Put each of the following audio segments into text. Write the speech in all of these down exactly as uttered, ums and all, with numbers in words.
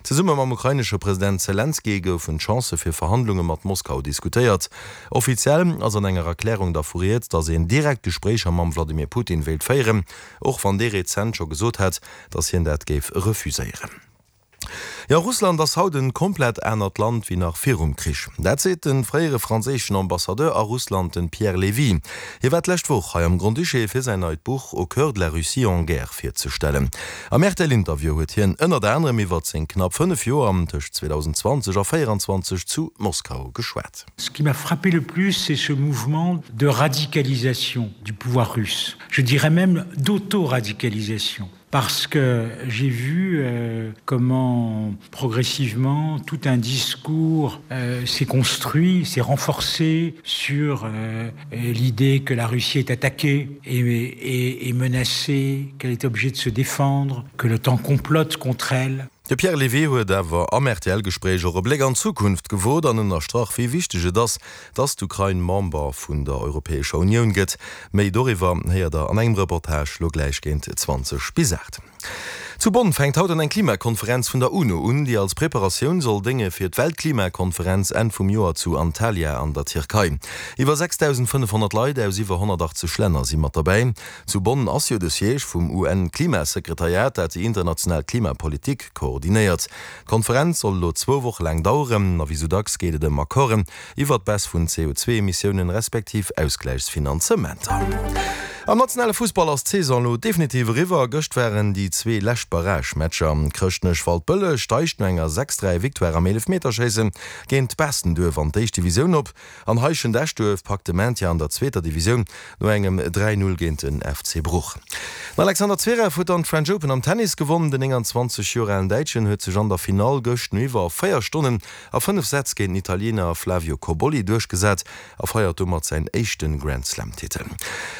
Zesumme mam ukrainesche President Selenskyj goufen d'Chancë fir Verhandlunge mat Moskau diskutéiert. Offiziell ass an enger Erklärung dervu rieds, datt een direkt Gespréicher mam Wladimir Putin wéilt féieren, och wann dee rezent scho gesot hat, datt hien dat géif refuséieren. Jo, Russland ass haut en komplett anert Land wéi nach virum Krich. Dat seet de fréiere franséischen Ambassadeur a Russland, de Pierre Lévy. Hie war d'lescht Woch hei am Grand-Duché fir säin neit Buch Au cœur de la Russie en guerre virzestellen. Am R T L-Interview huet hien ënnert anerem iwwert seng knapp fënnef Joer tëscht zweedausendenzwanzeg a véieranzwanzeg zu Moskau geschwat. Ce qui m'a frappé le plus, c'est ce mouvement de radicalisation du pouvoir russe. Je dirais même d'auto-radicalisation. Parce que j'ai vu euh, comment progressivement tout un discours euh, s'est construit, s'est renforcé sur euh, l'idée que la Russie est attaquée et, et, et menacée, qu'elle est obligée de se défendre, que l'OTAN complote contre elle. De Pierre Lévy huet awer am R T L-Gespréich och e Bléck an d'Zukunft gewot an ënnerstrach, wéi wichteg et ass, datt d'Ukrain Member vun der Europäescher Unioun gëtt. Méi doriwwer héiert der an engem Reportage lo gläich géint zwanzeg bis aacht. Zu Bonn fänkt haut an eng Klimakonferenz vun der UNO un, déi als Preparatioun soll dénge fir d'Weltklimakonferenz Enn vum Joer zu Antalya an der Tierkei. Iwwer sechsdausendfënnefhonnert Leit aus iwwer honnertachtzeg Länner si mat derbäi. Zu Bonn ass jo de Siège vum U N-Klimasekretariat, dat déi international Klimapolitik koordinéiert. D'Konferenz soll lo zwou Woche laang daueren, a wéi sou dacks geet et ëm Accorden iwwer d'Baisse vun C O zwee Emissiounen respektiv Ausgläichsfinanzementer. Am nationale Fussball ass d'Saison lo definitiv eriwwer. Gëscht waren déi zwee lescht Barrage-Matcher. Chrëschtnech Waldbëlleg steigt no enger sechs dräi Victoire am Eelefmeterschéisse géint Baastenduerf an d'éischt Divisioun op. An Heischent Eschduerf packt de Maintien an der zweeter Divisioun no engem dräi null géint den F C Bruch. Den Alexander Zverev huet dann d'French Open am Tennis gewonnen. Den nénganzwanzeg Joer alen Däitschen huet sech an der Finall gëscht no iwwer véier Stonnen a fënnef Sätz géint den Italiener Flavio Cobolli duerchgesat a feiert domat säin éischte Grand-Slam-Titel.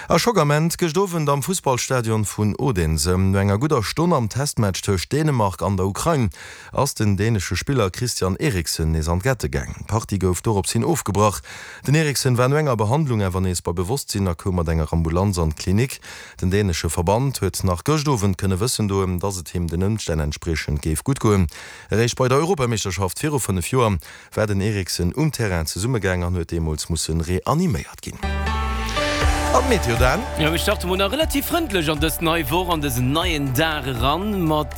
A Schockament gëscht Owend am Fussballstadion vun Odense. No enger gudder Stonn am Testmatch tëscht Dänemark an der Ukrain ass den dänesche Spiller Christian Eriksen nees an d'Gette gaangen. D'Partie gouf dorops hin ofgebrach. Den Eriksen war no enger Behandlung awer nees bei Bewosstsinn a koum mat enger Ambulanz an d'Klinik. Den dänesche Verband huet nach gëscht Owend kënne wëssen doen, datt et him den Ëmstänn entspriechend géif gutt goen. Eréischt bei der Europameeschterschaft viru fënnef Joer war den Eriksen um Terrain zesummegaang an huet deemools musse reaniméiert ginn. An d'Meteo dann? Jo, mir starte mol nach relativ frëndlech an dës nei Woch, an dësen neien Dag eran, mat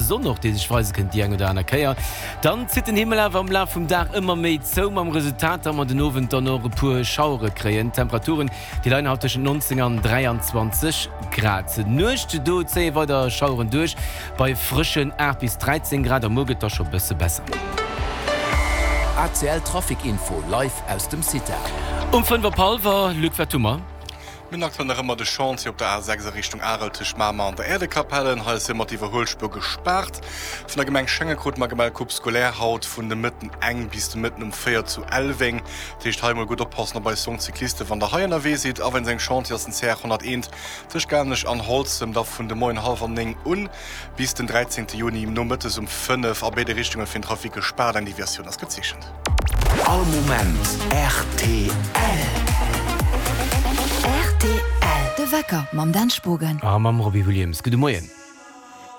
Sonn och, déi sech weise kënnt déi eng oder aner Kéier. Dann zitt den Himmel awer am Laf vum Dag ëmmer méi zou, mam Resultat, datt mer den Owend dann och e puer Schauere kréien. D'Temperaturen, déi leien haut tëschent neunzéng an dräianzwanzeg Grad. D'Nuecht, do zéie weider Schaueren duerch, bei frëschen aacht bis dräizéng Grad, a muer gëtt da scho bësse besser. A C L Trafic Info live aus dem CITAR. Um fënnef op hallwer, Luc, wat hu mer? Mir hunn aktuell nach ëmmer de Chantier op der A sechs a Richtung Arel tëscht Mamer an der Äerdekapelle. Hei ass ëmmer d'Iwwerhuelspuer gespaart. Vun der Gemeng Schengen krute mer gemellt, Coupe scolaire haut vun de Mëtten eng bis de Mëtten um véier zu Elweng. Dat heescht hei mol gutt oppassen op eis jonk Cyclisten, wann der hei ënnerwee sidd. A wéinst engem Chantier ass den C R honnerteent tëscht Garnech an Holzem da vun de Moien hallwer néng un bis den dräizéngte Juni nomëttes um fënnef a béide Richtunge fir den Trafic gespaart. Eng Deviatioun ass gezeechent. All Moment R T L. R T L. De Wecker mam Dan Spogen. A mam Robbie Williams. Gudde Moien.